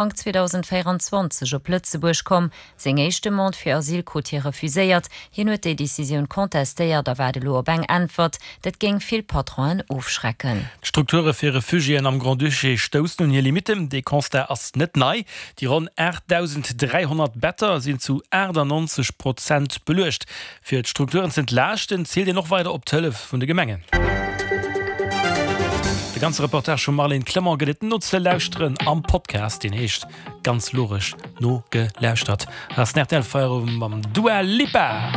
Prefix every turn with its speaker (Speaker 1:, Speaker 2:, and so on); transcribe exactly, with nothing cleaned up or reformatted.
Speaker 1: Ufank zweedausendvéieranzwanzeg op Lëtzebuerg komm. Seng éischt Demande fir Asyl krut hie refuséiert. Hien huet déi Decisioun contestéiert a waart elo op eng Äntwert. Dat géing vill Patronen ofschrecken.
Speaker 2: D'Strukture fir Refugiéen am Grand-Duché stoussen un hir Limitten. Dee Constat ass net nei. Déi ronn aachtdausend dräihonnert Better sinn zu aachtannonzeg Prozent beluecht. Fir d'Strukturen z'entlaaschten, zielt een och weider op d'Hëllef vun de Gemengen. De ganze Reportage vum Marlène Clement gëtt et nozelauschteren am Podcast, deen heescht ganz logesch Nogelauschtert. Hei ass den R T L Feierowend mam Dua Lipa.